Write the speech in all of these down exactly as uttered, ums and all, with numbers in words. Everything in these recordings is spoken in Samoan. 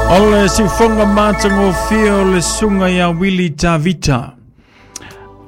O le siufoga matagofie o le suga iā Wili Tavita.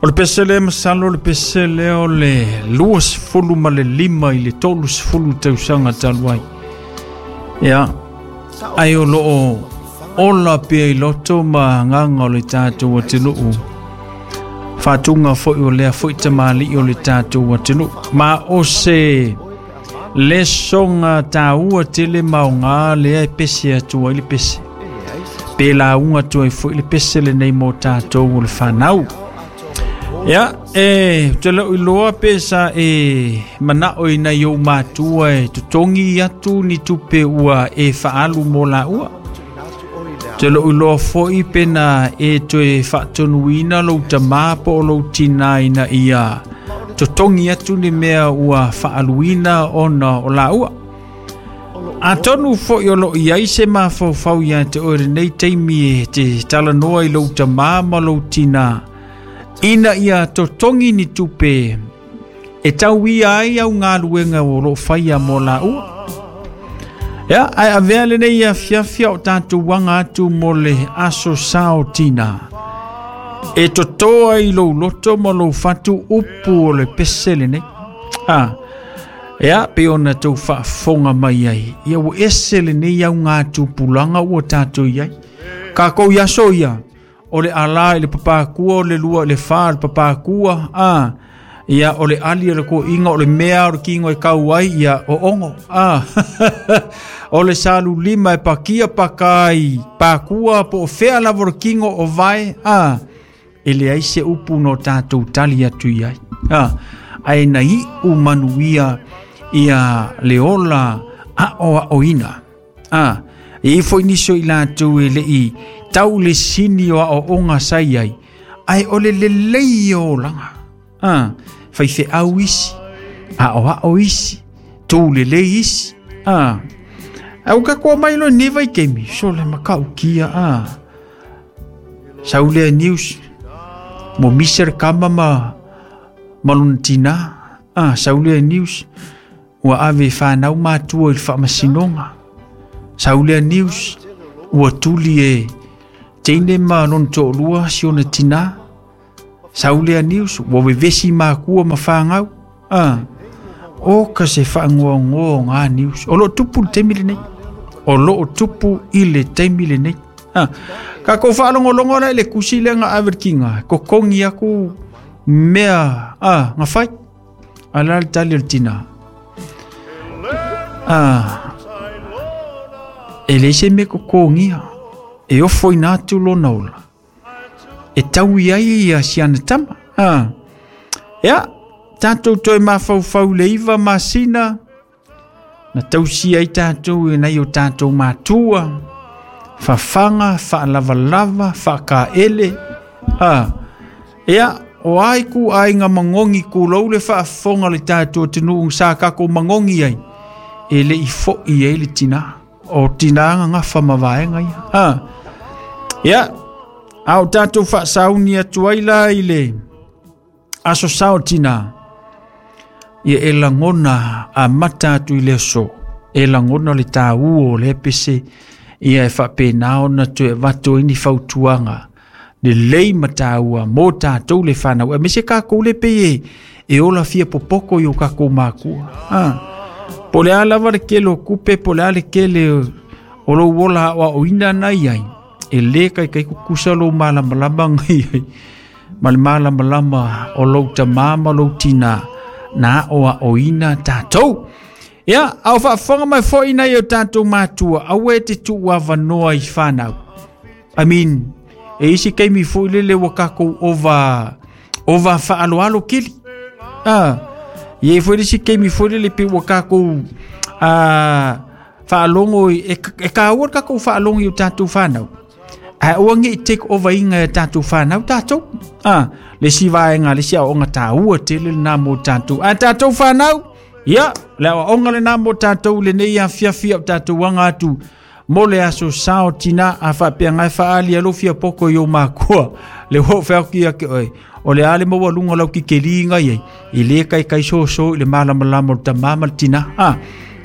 O le pese lea masalo o le pese lea o le lua sefulu ma le lima i le tolu sefulu tausaga talu ai. Ia, ai o loo ola pea i loto ma agaga o le tatou atunuu. Faatuga foi o lea foi tamalii o le tatou atunuu. Ma o se lesoga taua tele maoga lea e pese atu ai le pese. Pe lauga atu ai foi le pese lenei mo tatou o le fanau. Ia, e te leo iloa pe sa e manao ina i ou matua e totogi atu ni tupe ua e faalu mo laua. Te leo iloa foi pe na e toe faatonuina lou tamā po o lou tinā ina ia totogi atu ni mea ua faaluina ona o laua. Atonu foi o loo iai se mafaufau ia te oe lenei taimi e te talanoa i lou tamā ma lou tinā ina ia totogi ni tupe e tauia ai au galuega o loo faia mo laua. Ia, ae avea lenei afiafi o tatou aga atu mo le aso sao tinā. E totoa i lou loto ma lou fatu upu o le pese lenei. Ah, ia, pe ona tou faafofoga mai ai. Ia ua ese lenei au gatupulaga ua tatou iai. Kakou i aso ia, o le alā i le papakua, o le lua i le fa le papakua, ah, ia o le ali o le koiga, o le mea o le kigo e kau ai, ia o ongo, ah, o le salu lima e pakia pakai, pakua po o fea lava o le kigo o vae, ah, e leai se upu no tatou tali atu iai. Ah, ae na iu manuia ia le ola aoaoina. Ah, e i foi niso i latou e lei tau le sini o aoaoga sa i ai, ae o le lelei o olaga. Ah, faifeau isi, aoao isi, tou lelei isi. Ah, au ka koa mai loa lenei vaitaimi, so le makaukia. Ah, sau lea news, mo misi le kama ma ma lona tinā. Ah, sau lea news, ua ave e fanau matua i le faamasinoga. Sau lea news, ua tuli e teine ma lona toalua si ona tinā. Sau lea news, ua vevesi makua ma fagau. Ah, o ka se faagoagoa o gā news. O loo tupu le taimi lenei. O loo tupu i le taimi lenei. Ah, kakou faalogologo la i le kusi lea ga ave le kiga, kokogi aku mea ah, gafai. A la le tali o le tinā. Ah, e leai se mea kokogia. E ofo ina atu lona ola. E taui ai ia siana tama. Ah. Ia, tatou toe mafaufau le iva masina, na tausia ai tatou e nai o tatou matua, fafaga, faalavalava, faakaele. Ah. Ia, o ai ku aiga magogi kulou le faafofoga le tatou atunuu sa kakou magogi ai, e lei fo'i ai le tinā. O tinā gagafa ma vaega ia. Ah. Ia, a o tatou faasauni atu ai la i le aso sao tinā. Ia e lagona amata atu i le aso. E lagona le tāua o le pese. Ia e faapena ona toe avatu ai ni fautuaga lelei ma taua mo tatou le fanau. Aemaise kakou le pei e, e ola fia popoko i o kakou makua. Ah. Po le a lava le kele o kupe, po le a le kele o lou ola aoaoina na i ai. E lē kaikai kukusa lou malamalama gai ai. Ma le malamalama o lou tamā ma lou tinā na aoaoina tatou. Ia, ao faafofoga mai foi nai o tatou matua, aua e te tuu avanoa i fanau. I mean, e isi kaimi foi lele ua kakou ova ova faaloalo kili. Ah, ia foi le isi kaimi foi lele pe ua kakou ah, faalogo i- e, e kaua le kakou faalogo i o tatou fanau. Ae aua nei take over iga e tatou fanau tatou. Ah, le isi vaega, le isi aoaoga taua tele lenā mo tatou. A tatou fanau, ia, le aoaoga lenā mo tatou lenei afiafi o tatou aga atu mo le aso sao tinā a faapea e faaali alo fia poko i o makua. Le ua feauki ia ke oe. O le ale maua lunga lau kikeli ngai ai. I le kai kai so so i le malamalama o le tamā ma le tinā. Ah,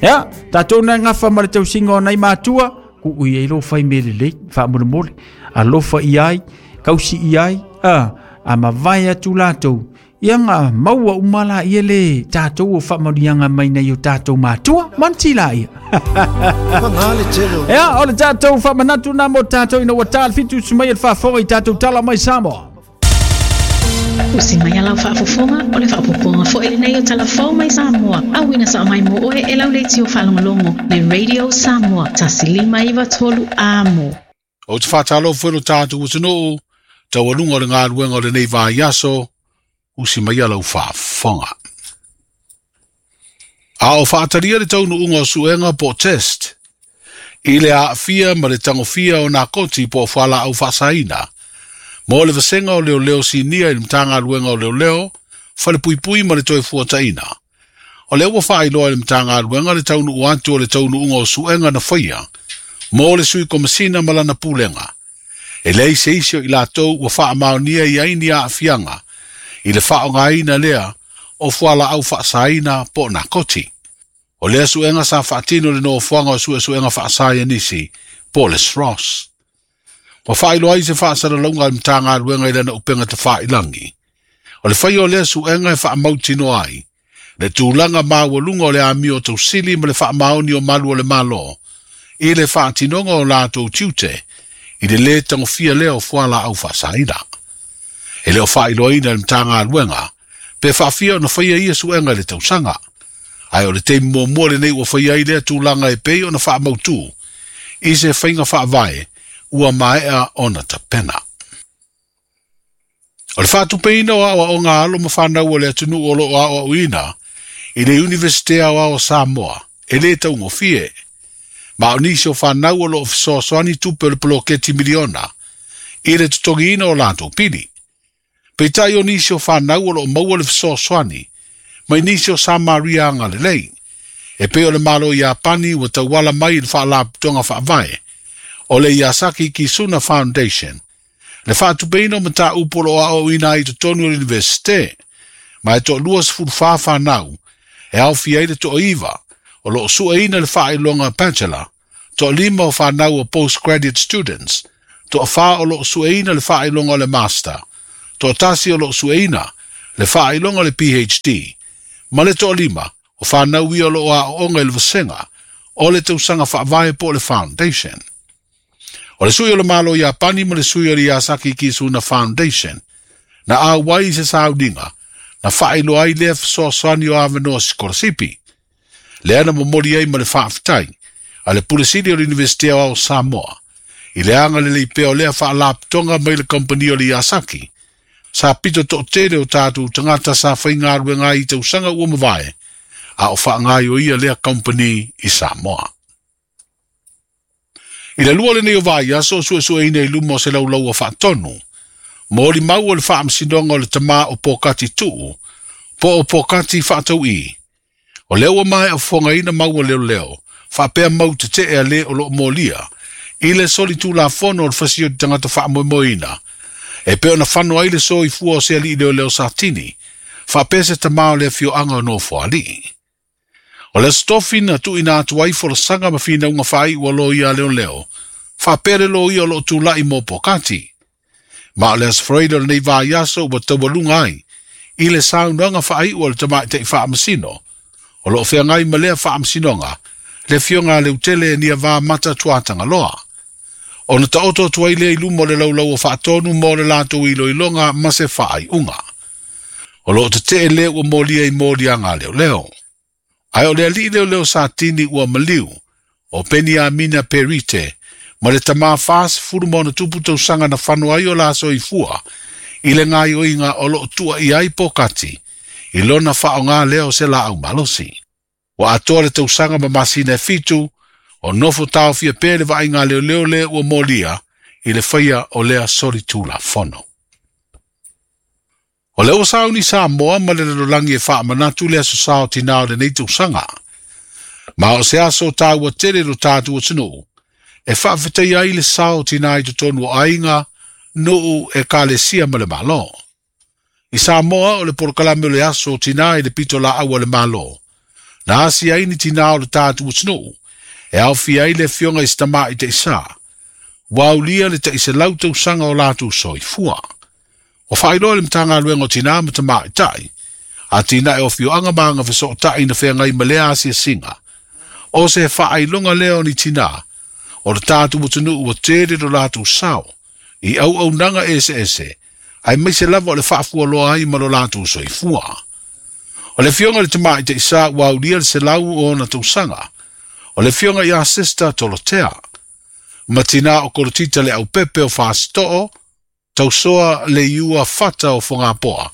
ia, tatou na gafa ma le tausiga o nai matua, Ku i ai lo fai mele lei, faamolemole, alofa i ai, kausi i ai, a, a mavae atu latou, ia nga maua uma la ia le tātou o faamanuiaga mai nei o tātou matua, manti la ia. Ia, o le tātou faamanatu na mo tātou ina ua tā le fitu sumai e le faafofoga i tātou tala mai Samoa. Usi mai alau faafofoga o le faapopoga foi lenei o Talafou mai Samoa. Auina sa mai mo oe e lau leitio faalogologo le Radio Samoa tasi lima iva tolu amo. O te whātalo whelo tātou atunuu, taualuga o le galuega o lenei vaiaso, usi mai alau faafofoga. A o faatalia le taunuuga o suega po test, i le aafia ma le tagofia o nakoti po o fualaau faasaina, mo le vasega o leoleo sinia i le Matagaluega o Leoleo, falepuipui ma le toe fuataina. O lea ua faailoa i le Matagaluega le taunuu atu o le taunuuga o suega na faia, mo le sui komasina ma lana pulega. E leai se isi o i latou ua faamaonia i ai ni aafiaga, i le faaaogaina lea o fualaau faasaina po o nakoti. O lea suega sa faatino le nofoaga o suesuega faasaianisi po o le S R O S. Ua faailoa ai se faasalalauga a le Matagaluega i lana upega tafailangi. O le faia o lea suega e faamautinoa ai le tulaga maualuga o le amio tausili ma le faamaoni o malu o le Malo i le faatinoga o latou tiute i le lē tagofia lea o fualaau faasaina. E le o faailoaina e le Matagaluega pe faafia ona faia ia suega i le tausaga. Ae o le taimi muamua lenei ua faia ai lea tulaga e pei ona faamautū i se faiga faavae ua maea ona tapena. O le faatupeina o aoaoga alo ma fanau o le atunuu o loo aoaoina i le Iunivesite Aoao o Samoa e lē taugofie. Ma o nisi o fanau o loo fesoasoani tupe o le poloketi miliona i le totogiina o latou pili. Peitai o nisi o fanau o loo maua le fesoasoani mai nisi o Samaria agalelei. E pei o le Malo Iapani ua tauala mai i le faalapotopotoga faavae o le Yasaki Kisuna Foundation, le faatupeina o mataupu o loo aoaoina ai i totonu o le Iunivesite, ma e toalua sefulu fa fanau e aofia ai le toaiva o loo sueina le faailoga bachelor, toalima o fanau o postgraduate students, toafa o loo sueina le faailoga o le master, toatasi o loo sueina le faailoga o le P H D, ma le toalima o fanau ia o loo aooga i le vasega o le tausaga faavae po o le foundation. O le sui o le Malo Iapani ma le sui o le Yasaki Kisuna Foundation, na auai i se sauniga, na faailoa ai lea fesoasoani o avanoa sikolasipi. Lea na momoli ai ma le faafetai a le Pule Sili o le Iunivesite Aoao o Samoa, i le agalelei pea o lea faalapotopotoga mai le kampani o le Yasaki, sa pito toatele o tātou tagata sa faigaluega ai i tausaga ua mavae, a o faagaioia lea kampani i Samoa. I le lua lenei o vaiaso o suesueina i luma o se laulaua faatonu, mo limau o le faamasinoga o le tamā o Pōkati Tuu, po o Pōkati Faatau'i. O lea ua maea fofogaina mau o leoleo, faapea mau tetee a lē o loo molia, i le solitulafono o le fasi o te tagata faamoemoeina, e pei ona fano ai le soifua o se alii leoleo Satini, faapea se tamā o le afioaga o Nofoalii. O le aso na tuuina atu ai folasaga ma finauga faaiu a loia leoleo, faapea le loia o loo tula'i mo Pōkati. Ma o le aso Faraile o lenei vaiaso ua taualuga ai i le saunoaga faaiu a le tamaita'i faamasino, o loo feagai ma lea faamasinoga, le afioga a Leutele e Niavā Mata Tuatagaloa. Ona taoto atu ai lea i luma o le laulau o faatonu mo le latou iloiloga ma se faaiuga. O loo tetee lea ua molia i moliaga a leoleo. Ae o le alii leoleo Satini ua maliu, o Peniamina Perite, ma le tamā fasefulu ma ona tupu tausaga na fano ai o la soifua, i le gaioiga o loo tuuaia ai Pōkati, i lona faaaogā lea o se laau malosi. Ua atoa le tausaga ma masina e fitu, o nofo taofia pea le vaaiga a leoleo lea ua molia i le faia o lea solitulafono. O lea ua sauni Samoa ma le lalolagi e faamanatu le aso sa o tinā o lenei tausaga. Ma o se aso tāua tele lo tātou atunuu, e faafetaia ai le sa o tinā i totonu o aiga, nuu e kalesia ma le Malo. I Samoa o le polokalame o le aso o tinā i le pito laau a le Malo, na asi ai ni tinā o le tātou atunuu, E aofia ai le afioga i se tamaitaisā, ua aulia le ta'iselau tausaga o latou soifua. Ua faailoa le Matagaluega o Tinā ma Tamaitai, Atinae o Afioaga ma Agafesootai na feagai ma lea asiasiga, o se faailoga lea o ni tinā o le tatou atunuu ua tele lo latou sao i auaunaga eseese, aemaise lava o le faafualoa ai ma lo latou soifua. O le afioga i le tamaitaisā ua aulia le selau o ona tausaga, o le afioga ia Sister Tolotea, ma tinā o Kolotita le Aupepe o Fasito'o, tausoa le iua fata o Fogapoa,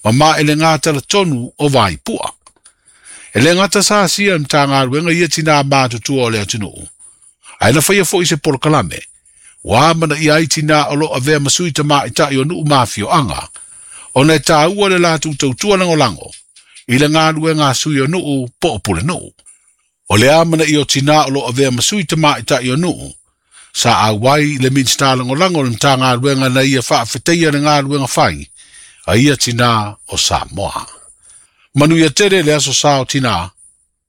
ma maelegatalatonu o Vaipua. E le gata sa asia e Matagaluega ia tinā matutua o le atunuu, ae na faia fo'i se polokalame, ua amanaia ai tinā o lo avea ma sui tamaʻitaʻi o nuu ma afioaga, ona e tāua le latou tautua lagolago i le galuega a sui o nuu po o pulenuu. O le amanaia o tinā o lo avea ma sui tamaʻitaʻi o nuu, sa auai le Minisita Lagolago o le Matagaluega na ia faafetaia le galuega fai a ia tinā o Samoa. Manuia tele le aso sa o tinā.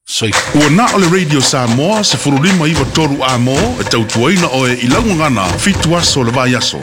Soifua. Ua na o le Radio Samoa sefulu lima iva tolu A M O e tautuaina oe i lau gagana fitu aso o le vaiaso.